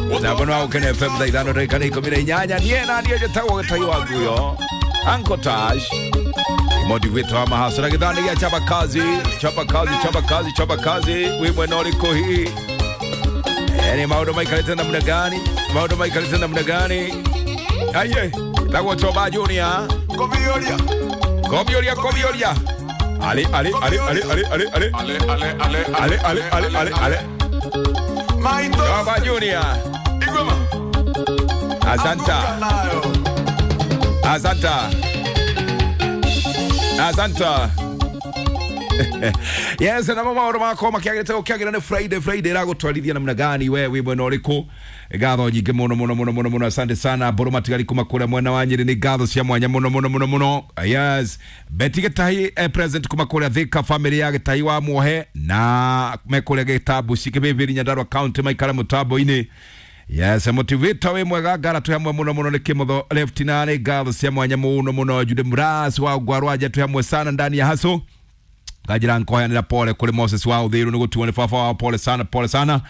Mutambo wa Ukene FM thaa 5 ndagĩka 18. Niĩ na niĩ njĩtagwo Gĩtai wa Nguyo, Uncle Tash, motivator wa mahasara gĩthani gĩa chapa kazi, chapa kazi, chapa kazi, chapa kazi. Wĩ mwena ũrĩkũ hihi? Ni maũndũ maikarĩte namna gani? Maũndũ maikarĩte namna gani? Aye, tagwo Choba Junior. Kobioria. Kobioria, kobioria. Ale, ale, ale, ale, ale, ale, ale. Ale, ale, ale, Ale, ale, ale, ale, ale. Maito. Choba Junior. Igoma. Asanta. Nayo. Asanta. Asanta. Yes, na mama maũndũ makwa makĩagĩrĩte gũkĩagĩra nĩ Friday. Friday ĩragũtwarithia namna gani we wĩ mwena ũrĩkũ? Ngatho nyingĩ mũno mũno mũno mũno mũno, asante sana. Mbũrũ matigari kuma kũrĩa mwena wa Nyĩrĩ, nĩ ngatho cia mwanya mũno mũno mũno mũno. Yes, Betty Gĩtahi, present kuma kũrĩa Thika, family ya Gĩtahi wa Muohe na me kũrĩa Gĩtambu Cikĩbĩbĩri, Nyandarua County, maikara mũtambo-inĩ. Yes, motivator wĩ mwega, ngara twĩ hamwe mũno mũno nĩ Kĩmotho left na nĩ ngatho cia mwanya mũno mũno. Jude Mras wa Ngwarwanja, twĩ hamwe sana ndani ya haso kanjira nkoheanĩra pole kũrĩ Moses wa Uthiru nĩ gũtuo nĩ baba wao, pole sana, pole sana,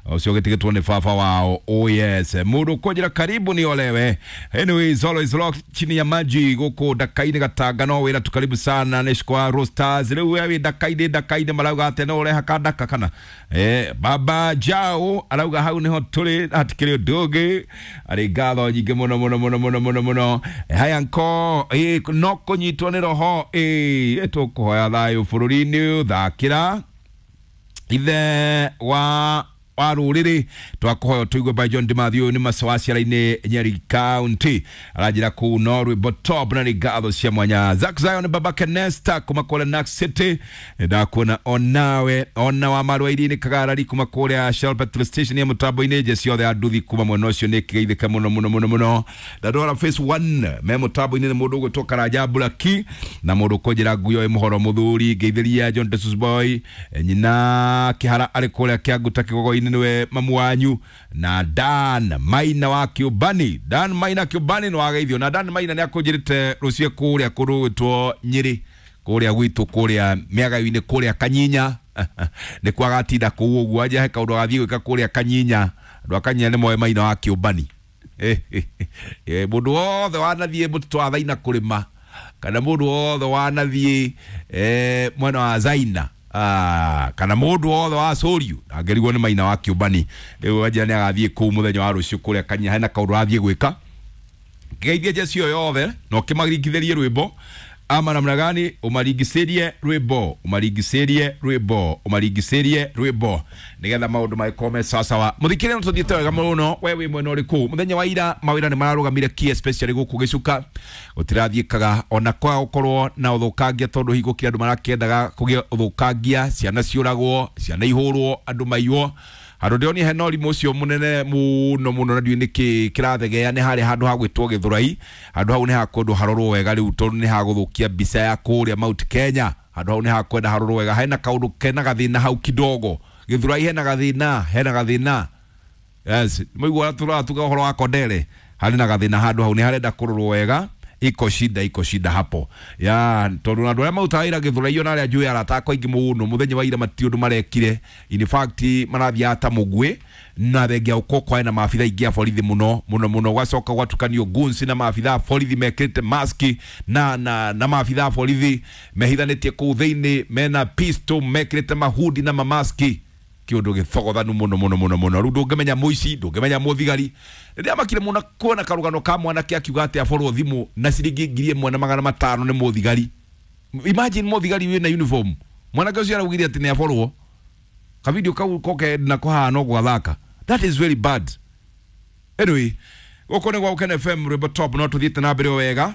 ũcio gĩtigĩtwo nĩ baba wao. Oh yes, mũndũ kũnjĩra karibu ni olewe. Anyways, always rock chini ya maji gũkũ Ndaka-inĩ Gatanga, no wĩra tu, karibu sana nĩ cikwa Roasters. Rĩu we wĩ Ndaka-inĩ, Ndaka-inĩ marauga atĩ no ũreha kandaka kana baba Jao arauga hau nĩho tũrĩ, hatikĩrĩ ũndũ ũngĩ. Arĩ ngatho nyingĩ mũno mũno mũno mũno mũno mũno. Haya nko no kũnyitwo nĩ roho, tũkũhoya thayũ bũrũri-inĩ, thakĩra ithe wa rũrĩrĩ twakũhoya tũigue by John Dimathew nĩ macawa ciara-inĩ Nyeri County, aranjĩra kũu no rwĩmbo top na nĩ ngatho cia mwanya. Zack Zion baba Kenesta kuma kũrĩa Nax City, ndakuona onawe ona wa marũa iria-inĩ Kagarari kuma kũrĩa Shell petrol station ya mũtambo-inĩ, nje ciothe ya nduthi kuma mwena ũcio nĩ kĩgeithĩka mũno mũno mũno mũno. Ndandwara phase 1 me mũtambo-inĩ nĩ mũndũ ũgwĩtwo Karanja Buraki na mũndũ ũkũnjĩra nguyo ĩ mũhoro mũthuri, ngeithĩria John Jesus Boy, nyina Kĩhara arĩ kũrĩa Kĩanguta Kĩgogo-inĩ, nĩwe mamu wanyu, na Dan Maina wa Kĩũmbani. Dan Maina Kĩũmbani nĩ wageithio, na Dan Maina nĩ akũnjĩrĩte rũciũ kũrĩa kũndũ gwĩtwo Nyĩrĩ, kũrĩa gwitũ, kũrĩa mĩagayo-inĩ, kũrĩa Kanyinya nĩ kwagatinda kũu ũguo, anja he kaũndũ agathiĩ gwĩka kũrĩa Kanyinya. Andũ a Kanyinya nĩ moĩ Maina wa Kĩũmbani. Mũndũ wothe wanathiĩ mũtitũ wa Thaina kũrĩma kana mũndũ wothe wanathiĩ mwena wa Zaina, kana mũndũ wothe wa Sũriũ angĩrigwo nĩ Maina wa Kĩũmbani. Rĩu anja nĩ agathiĩ kũu mũthenya wa rũciũ kũrĩa Kanyinya, hena kaũndũ arathiĩ gwĩka. Ngeithie jeci ĩyo yothe na ũkĩmaringithĩrie rwĩmbo ama namna gani, ũmaringicĩrie rwĩmbo, ũmaringicĩrie rwĩmbo, ũmaringicĩrie rwĩmbo nĩgetha maũndũ magĩkorwo me sawasawa. Mũthikĩrĩria, no tũthiĩte wega mũno. We wĩ mwena ũrĩkũ? Mũthenya wa ira mawĩra nĩ mararũgamire ki, especially gũkũ Gĩcuka gũtirathiĩkaga ona kwa gũkorwo na ũthũkangia, tondũ hingo kĩrĩa andũ marakĩendaga kũgĩa ũthũkangia, ciana ciũragwo, ciana ihũrwo, andũ maiywo. Handũ ndĩronire hena ũrimũ ũcio mũnene mũno mũno na ndiũĩ nĩkĩ kĩrathegea nĩ harĩa handũ ha gwĩtwo Gĩthũrai. Handũ hau nĩ hakũndũ harorwo wega rĩu, tondũ nĩ hagũthũkia mbica ya kũrĩa Mount Kenya. Handũ hau nĩ hakwenda harorwo wega, hena kaũndũ kena gathĩna hau kidogo. Gĩthũrai hena gathĩna, hena gathĩna. Yes, mũigua tũratuga ũhoro wa Kondere, harĩ na gathĩna handũ hau, nĩ harenda kũrorwo wega. Iko shida, iko shida hapo ya tondũ andũ arĩa marutaga wĩra Gĩthũrai ona arĩa njũĩ arata akwa aingĩ mũno, mũthenya wa ira matirĩ ũndũ marekire. In fact marathiaga ta mũguĩ, na thengia gũkorwo kwarĩ na maabitha aingĩ a borithi mũno mũno mũno, gwacoka gwatukanio guns na maabitha a borithi mekĩrĩte maski na maabitha a borithi mehithanĩtie kũu thĩinĩ mena pistol, mekĩrĩte mahudi na mamaski, kĩũndũ gĩthogothanu mũno mũno mũno mũno. Rĩu ndũngĩmenya mũici, ndũngĩmenya mũthigari. Rĩrĩa makire mũno kuona karũgano ka mwanake akiuga atĩ aborwo thimũ na ciringi 1500 nĩ mũthigari. Imagine mũthigari wĩna uniform, mwanake ũcio araugire atĩ nĩ aborwo. Kavidio kau koke nako haha no gwathaka. That is very bad. Anyway, gũkũ nĩ gwa Ũkene FM, rwĩmbo top, no tũthiĩte na mbere o wega,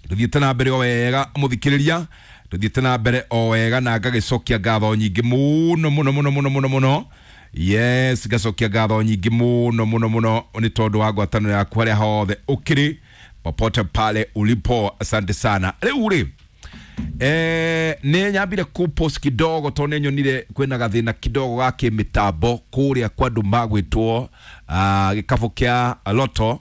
tũthiĩte na mbere o wega mũthikĩrĩria, tũthiĩte na mbere o wega, na ngagĩcokia ngatho nyingĩ mũno mũno mũno mũno mũno mũno. Yes, ngacokia ngatho nyingĩ mũno mũno mũno nĩ tondũ wa ngwatanĩro yaku harĩa hothe ũkĩrĩ, popote pale ulipo, asante sana. Rĩu rĩ, nĩ nyambire ku post kidogo tondũ nĩ nyonire kwĩna gathĩna kidogo ga kĩmĩtambo kũrĩa kwa andũ magwĩtwo gĩkabũ kĩa Loto.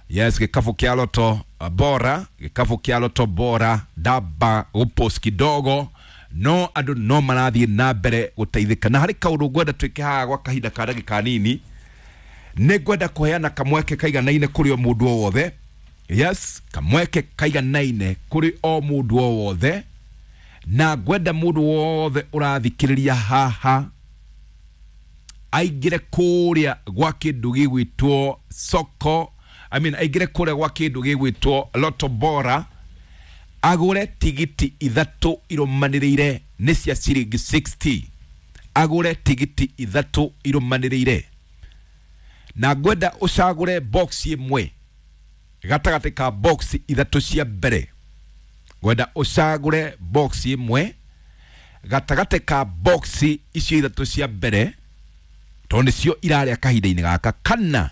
Yes, gĩkabũ kĩa Loto bora, gĩkabũ kĩa Loto bora, ndamba gũpost kidogo, no andũ no marathiĩ na mbere gũteithĩka, na harĩ kaũndũ ngwenda twĩke haha gwa kahinda ka ndagĩka nini. Nĩ ngwenda kũheana kamweke kaiganaine kũrĩ o mũndũ o wothe. Yes, kamweke kaiganaine kũrĩ o mũndũ o wothe, na ngwenda mũndũ wothe ũrathikĩrĩria haha aingĩre kũrĩa gwa kĩndũ gĩgwĩtwo soko, I mean, aingĩre kũrĩa gwa kĩndũ gĩgwĩtwo Lotto Bora, agũre tigiti ithatũ irũmanĩrĩire nĩ cia ciringi 60. Agũre tigiti ithatũ irũmanĩrĩire, na ngwenda ũcagũre box ĩmwe gatagatĩ ka box ithatũ cia mbere. Ngwenda ũcagũre box ĩmwe gatagatĩ ka box icio ithatũ cia mbere, tondũ nĩcio irarĩa kahinda-inĩ gaka, kana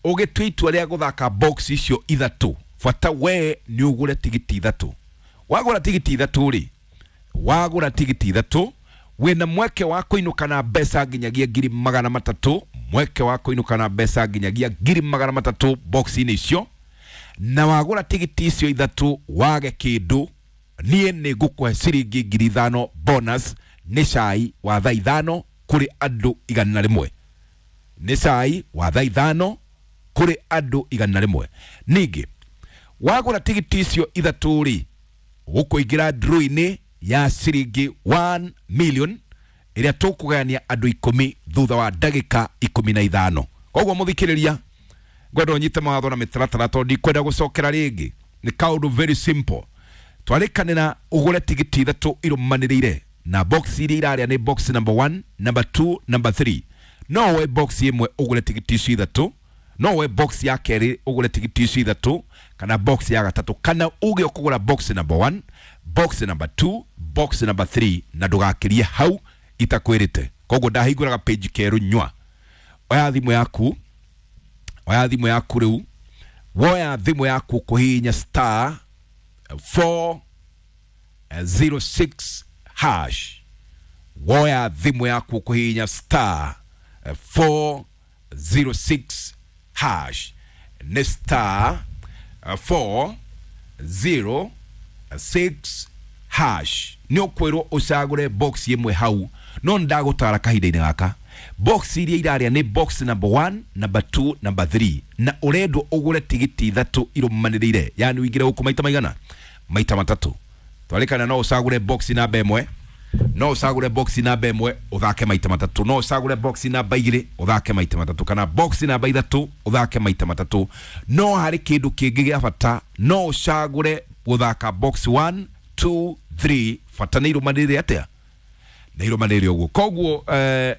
ũgĩtua itua rĩa gũthaka box icio ithatũ, bata we nĩ ũgũre tigiti ithatũ. Wagũra tigiti ithatũ rĩ, wagũra tigiti ithatũ wĩna mweke wa kũinũka na mbeca nginyagia 300,000, mweke wa kũinũka na mbeca nginyagia 300,000 box-inĩ icio. Na wagũra tigiti icio ithatũ wage kĩndũ, niĩ nĩ ngũkũhe ciringi 5,000 bonus, nĩ cai wa thaa 5 kũrĩ andũ 100. Nĩ cai wa thaa 5 kũrĩ andũ 100. Ningĩ wagũra tigiti icio ithatũ rĩ, ũkũingĩra draw-inĩ ya ciringi 1 million ĩrĩa tũkũgayania andũ 10 thutha wa ndagĩka 15. Koguo mũthikĩrĩria, ngwenda ũnyite mawatho na mĩtaratara tondũ ndikwenda gũcokera rĩngĩ. Nĩ kaũndũ very simple. Twarĩkanĩra ũgũre tigiti ithatũ irũmanĩrĩire, na box iria irarĩa nĩ box number 1, number 2, number 3. No woe box ĩmwe ũgũre tigiti icio ithatũ, no woe box ya kerĩ ũgũre tigiti icio ithatũ, kana box ya gatatũ, kana uge ũkũgũra box number 1, box number 2, box number 3, na ndũgakĩrie hau itakwĩrĩte. Koguo ndahingũraga page kerũ nyua. Oya thimũ yaku, oya thimũ yaku rĩu, woya thimũ yaku kũhihinya star 406 hash. Woya thimũ yaku kũhihinya star 406 hash. Nĩ star 406 hash. Nĩ ũkwĩrwo ũcagũre box ĩmwe hau, no ndagũtara kahinda-inĩ gaka. Box iria irarĩa nĩ box number 1, number 2, number 3, na ũrendwo ũgũre tigiti ithatũ irũmanĩrĩire, yani ũingĩre gũkũ maita maigana? Maita matatũ. Twarĩkana no ũcagũre box namba ĩmwe, no ũcagũre box namba ĩmwe ũthake maita matatũ, no ũcagũre box namba igĩrĩ ũthake maita matatũ, kana box namba ithatũ ũthake maita matatũ. No harĩ kĩndũ kĩngĩ gĩa bata, no ũcagũre gũthaka box 1, 2, 3, bata nĩ irũmanĩrĩire atĩa? Nĩ irũmanĩrĩire ũguo. Koguo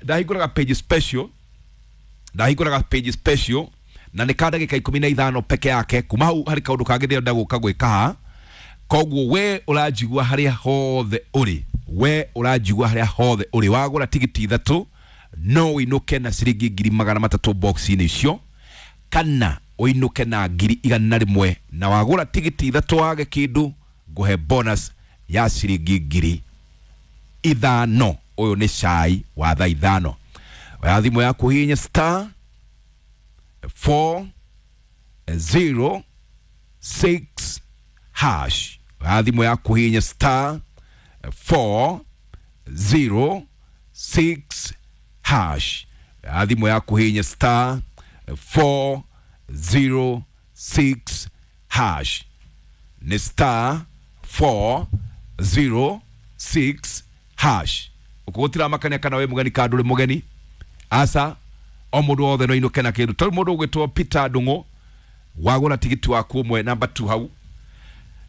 ndahingũraga page special, ndahingũraga page special na nĩ ka ndagĩka 15 peke yake. Kuma hau harĩ kaũndũ kangĩ ndĩrenda gũka gwĩka haha. Koguo we ũranjigua harĩa hothe ũrĩ, we ũranjigua harĩa hothe ũrĩ, wagũra tigiti ithatũ no ũinũke na ciringi 300,000 box-inĩ icio, kana ũinũke na 100,000, na wagũra tigiti ithatũ wage kĩndũ, ngũhe bonus ya ciringi 5,000. Ũyũ nĩ cai wa thaa 5. Oya thimũ yaku hihinya star 406 hash. Oya thimũ yaku hihinya star 406 hash. Oya thimũ yaku hihinya star 406 hash. Nĩ star 406 hash. Ũkũgũtira makania kana wĩ mũgeni kana ndũrĩ mũgeni, aca o mũndũ wothe no inũke na kĩndũ. Tondũ mũndũ ũgwĩtwo Peter Ndung'u, wagũra tigiti waku ũmwe namba 2 hau,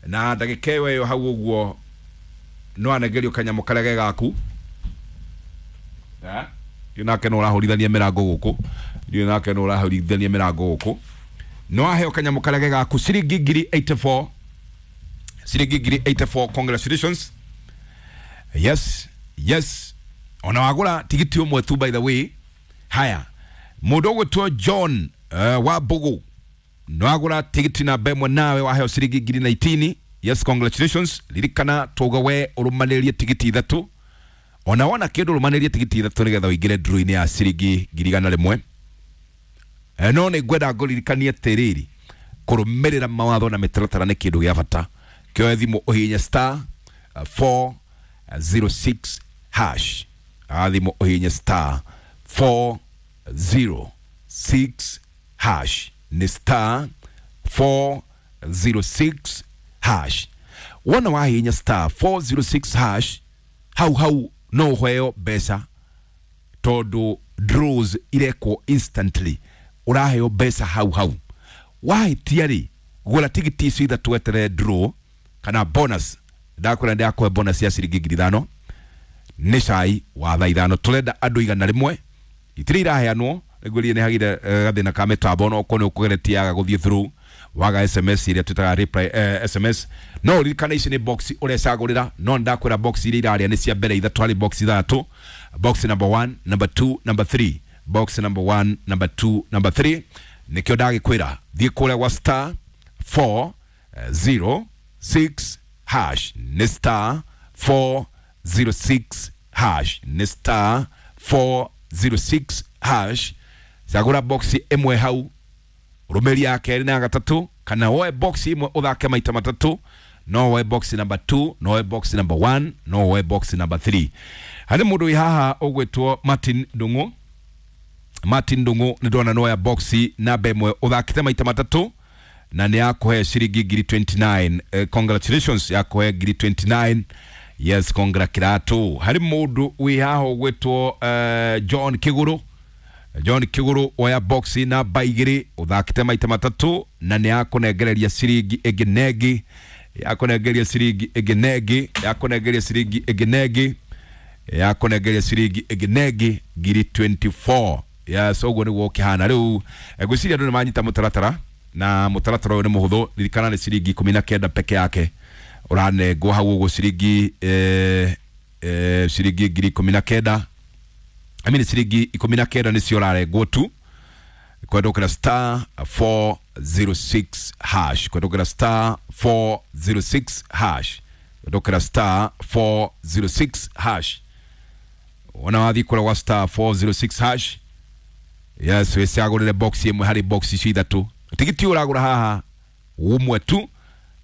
na ndagĩka ĩyo ĩyo hau ũguo no anengerio kanyamũ karĩa ge gaku. Ndiũ nake no ũrahũrithania mĩrango gũkũ, ndiũ nake no ũrahũrithania mĩrango gũkũ. No aheo kanyamũ karĩa ge gaku ciringi 84,000, ciringi 84,000. Congratulations. Yes, yes. Ona wagũra tigiti ũmwe tu, by the way. Haya, mũndũ ũgwĩtwo John wa Mbugu, no wagũra tigiti namba ĩmwe nawe waheo ciringi 19,000. Yes, congratulations. Ririkana tuga we ũrũmanĩrie tigiti ithatũ, ona wona kĩndũ ũrũmanĩrie tigiti ithatũ nĩgetha ũingĩre draw-inĩ ya ciringi 100,000. No nĩ ngwenda ngũririkanie atĩrĩrĩ, kũrũmĩrĩra mawatho na mĩtaratara nĩ kĩndũ gĩa bata. Kĩoe thimũ ũhihinye star 406 hash. Thimũ ũhihinye star 406 6 hash, nĩ star 406 hash. Wona wahihinya star 406 hash hau hau no ũheo mbeca, tondũ draws irekwo instantly, ũraheo mbeca hau hau. Wahĩtia rĩ, gũra tigiti icio ithatũ weterere draw kana bonus. Ndakwĩra ndĩrakũhe bonus ya ciringi 5,000, nĩ cai wa thaa 5. Tũrenda andũ 100, itirĩ iraheanwo nĩguo nĩ hagire gathĩna ka mĩtambo, no korwo nĩ ũkũgeretie yaga gũthiĩ through, waga SMS ĩrĩa twĩtaga reply SMS. No ũririkane ici nĩ box ũrecagũrĩra, no ndakwĩra box iria irarĩa nĩ cia mbere ithatũ harĩ box ithatũ: box number 1, number 2, number 3. Box number 1, number 2, number 3. Nĩkĩo ndagĩkwĩra thiĩ kũrĩa gwa star 406 hash, nĩ star 406 hash, nĩ star 406 hash. Cagũra box ĩmwe hau, rũmĩria ya kerĩ na ya gatatũ, kana woe box ĩmwe ũthake maita matatũ. No woe box number 2, no woe box number 1, no woe box number 3. Harĩ mũndũ wĩ haha ũgwĩtwo Martin Ndung'u. Martin Ndung'u, nĩ ndona noya box namba ĩmwe ũthakĩte maita matatũ na nĩ yakũhe ciringi ngiri 29. Congratulations, yakũhe ngiri 29. Yes, congra kiratu. Harĩ mũndũ wĩ haha ũgwĩtwo John Kiguru. John Kiguru, oya box namba igĩrĩ ũthakĩte maita matatũ na nĩ yakũnengereria ciringi ĩngĩ na ĩngĩ, yakũnengereria ciringi ĩngĩ na ĩngĩ, yakũnengereria ciringi ĩngĩ na ĩngĩ, yakũnengereria ciringi ĩngĩ na ĩngĩ, ngiri 24. Yes, ũguo nĩguo ũkĩhana rĩu. Ngwĩciria andũ nĩ manyita mũtaratara, na mũtaratara ũyũ nĩ mũhũthũ. Ririkana nĩ ciringi 19 peke yake ũranengwo hau ũguo, ciringi ciringi ngiri 19, I mean ciringi 19 nĩcio ũrarengwo tu kwendũkĩra star 406 hash, kwendũkĩra star 406 hash, kwendũkĩra star 406 hash. Wona wathiĩ kũrĩa gwa star 406 hash, yes, wĩcagũrĩre box ĩmwe harĩ box icio ithatũ. Tigiti ũragũra haha ũmwe tu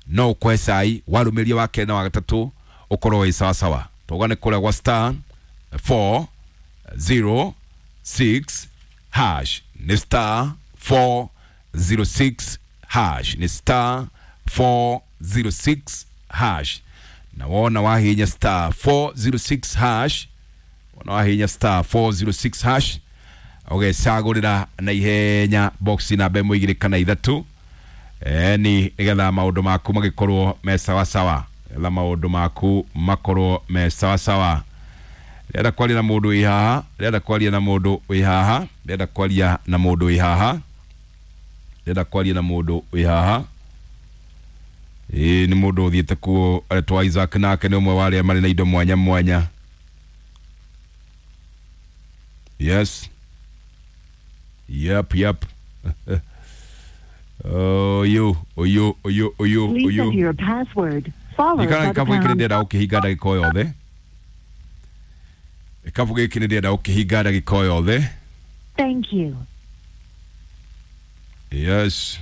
no ũkũhe cai, warũmĩria wa kerĩ na wa gatatũ ũkorwo wĩ sawasawa. Tauga nĩ kũrĩa gwa star 406 hash, nĩ star 406 hash, nĩ star 406 hash. Na wona wahinya star 406 hash, wona wahinya star 406 hash, ũgecagũrĩra na ihenya box namba ĩmwe, igĩrĩ kana ithatũ, ni nĩgetha maũndũ maku magĩkorwo me sawasawa, nĩgetha maũndũ maku makorwo me sawasawa. Ndĩrenda kwaria na mũndũ wĩ haha, ndĩrenda kwaria na mũndũ wĩ haha, ndĩrenda kwaria na mũndũ wĩ haha, ndĩrenda kwaria na mũndũ wĩ haha. Ĩĩ, nĩ mũndũ ũthiĩte kuo aretwo Isaac, nake nĩ ũmwe wa arĩa marĩ na indo mwanya mwanya. Yes, yep. Ũyũ ũyũ ũyũ ũyũ Please ũyũ enter your password, followed Ririkana by the gĩkabu gĩkĩ nĩ pound. ndĩrenda gũkĩhinga ndagĩka o yothe. Gĩkabu gĩkĩ nĩ ndĩrenda gũkĩhinga ndagĩka o yothe. Thank you. Yes.